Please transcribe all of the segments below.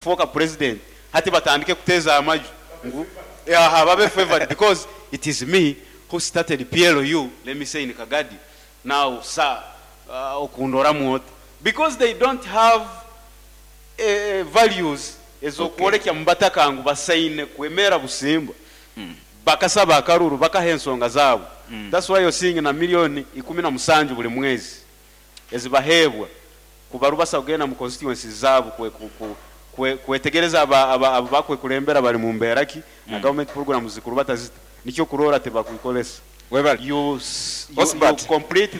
Kufooka president, hati batandike kuteeza amaju ngu aha babe favored because it is me who started PLU, let me say in Kagadi, now sir, okundoramu ota? Because they don't have values ez'okwolekya mu bataka ngu basaine kwemera busimba. Bakasaba akaruru, bakaha ensonga zaabo. That's why you're seeing na 17 million buli mwezi ezibaheebwa kubarubasa kugenda mu constituencies zaabo kwetegereza abo bakwekulembera bali mu mbeera ki na government programs zikurubata zita. Nikyo kurora tibakwikolesa. Webale. You Osbert. complete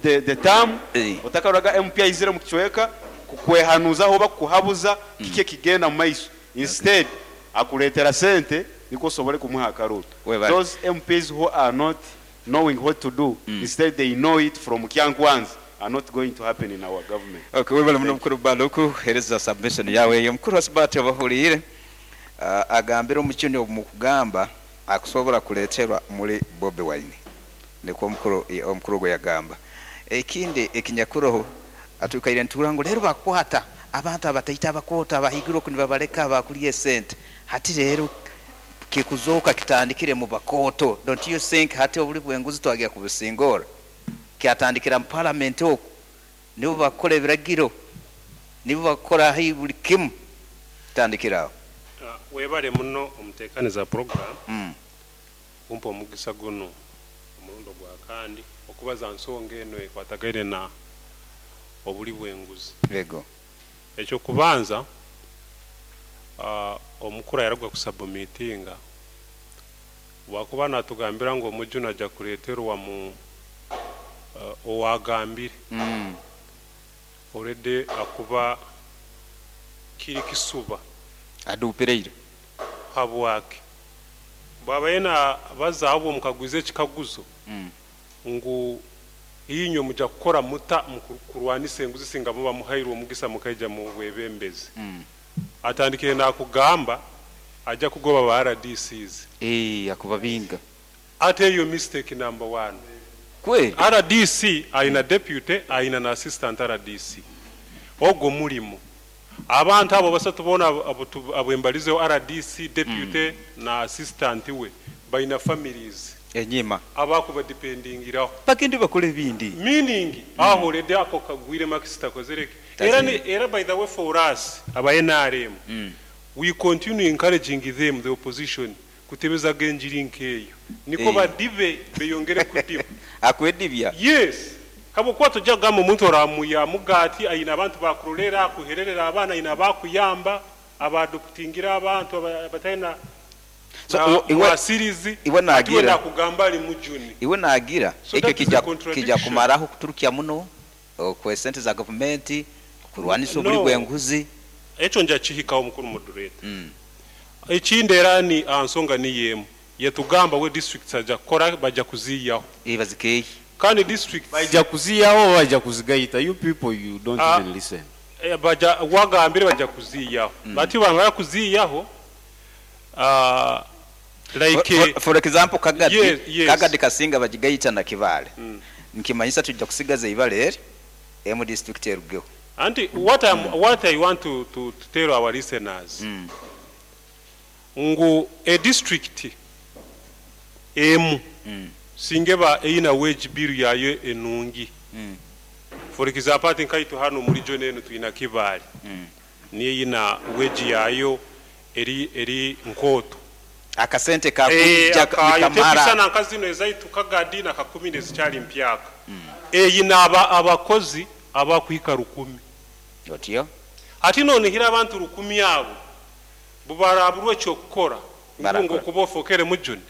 the term, otakaroraga MP aizire mu kicweka kukwehanuzaho oba kukuhabuza kiki ekigenda mu maiso. Instead akuleetera sente nikwo osobole kumuha akaruru. Webale. Those MPs who are not knowing what to do, instead they know it from Kyankwanzi, are not going to happen in our government. Okay, webale muno, mukuru Baluku, hereza submission yawe eyo. Mukuru Osbert, obahuliire, agambire omukini omu kugamba akusobola kuleterwa muri Bobi Wine, nikwo omukuru gwe yagamba. Ekindi ekinyakuroho, atukaire ntura ngu leero bakwata abantu abataita, abakoota abahigirwe oku nibabaleka bakulya esente. Hati leero kikuzoka kitandikire mu bakooto. Don't you think hati obuli bwenguzi twagira kubusingora kyatandikira mu parliament? Oku nibo bakora ebiragiro, nibo bakora buli kimu, kitandikira aho. Webale muno omutekaniza program kumpa omugisa guno omurundi gwa kandi okubaza nsonga eno ekwatagaine na obuli bwenguzi. Ekyokubanza, omukuru yaragwa kusubmitinga wakuba natugambira ngu omujuni ajja kuleterwa mu owagambire already akuba kiri kisuba. Adupireire. Habwaki bwaba yena bazaabo mukagwiza ekikaguzo ngu inywe muja kukora muta mu kurwanisa enguzi singa muba muhairwe omugisa mukaija mu bwebembezi? Atandikire nakugamba ajja kugoba ba RDCs. Eh, akubabinga. Ate eyo mistake number one. Kweli. RDC ayina deputy, ayina na assistant RDC. Ogwo mulimu abantu abo basatu bona abwembalizeho, RDC, deputy na assistant we, balina families enyima abakubadependingiraho. Bagende bakora ebindi. Meaning aho already ako kagwire makisita kozereke. Era ni era, by the way, for us aba NRM, we continue encouraging them, the opposition, kutebezaga enjiri nkeeyo niko badibe beyongere kudiba. Akwedibya. Yes, habwokuba tojja kugamba omuntu oramuya mugati ayina abantu bakurolera, akuhererera abaana, ayina abakuyamba, abaadoptingira abantu abatalina So, na mwasirizi iwe ati we nagira nakugamba ali mujuni. Iwe nagira So ekyo that is a kijja contradiction. kumaraho kuturukya muno kwe sente za gavumenti kurwanisa obuli No. bwenguzi. Ekyo nja kihikawo, mukuru moderator. Ekindi era ni nsonga niyemu yetugamba we districts ajja kukora, bajja kuziiyaho. Bazikeyi. Kandi districts Bajja kuziyaho oba bajja kuzigaita? You people, you don't even listen. Baja wagambire bajja kuziiyaho, bati bamara kuziiyaho, like For example, Kagadi, Yes. Kagadi kasinga bagigayita na Kibaale, nkimanyisa tujja kusigaza ibale eri emu district erugeho. Anti what I want to tell our listeners ngu a district emu singeba eyina wage bill yayo enungi. For example, ati nkaitu hano muri region eno tuyina Kibaale, niyo eyina wage yayo eri nkooto. Akasente kakujja akayo nikamara. Tekusana nka zino ezaitu Kagadi na Kakumi nezikyali mpyaka, eyina abakozi abakuhika 1000. Otyo. Ate nonihira abantu 1000 abo bubarabulwa ekyokukora Barakora. ngu okuba ofokere mujuni.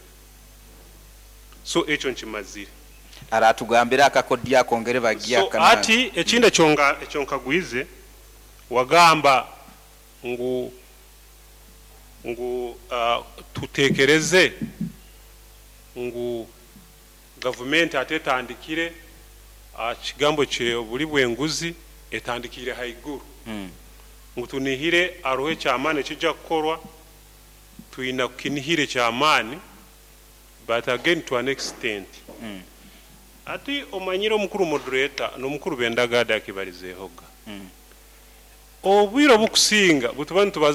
So ekyo nkimazire. Aratugambira akakodya akongere bagiya. So ati ekindi ekyonga ekyonkagwize, wagamba ngu tutekereze ngu gavumenti ate etandikire kigambo kye obuli bwenguzi etandikire haiguru, ngu tunihire aroho ekyamaani ekijja kukorwa. Tuyina kukinihire ekyamaani, but again, to an extent. Ati omanyire, omukuru moderator n'omukuru Bendagade akibalizeehoga. Obwire obukusinga butuba nitubaza.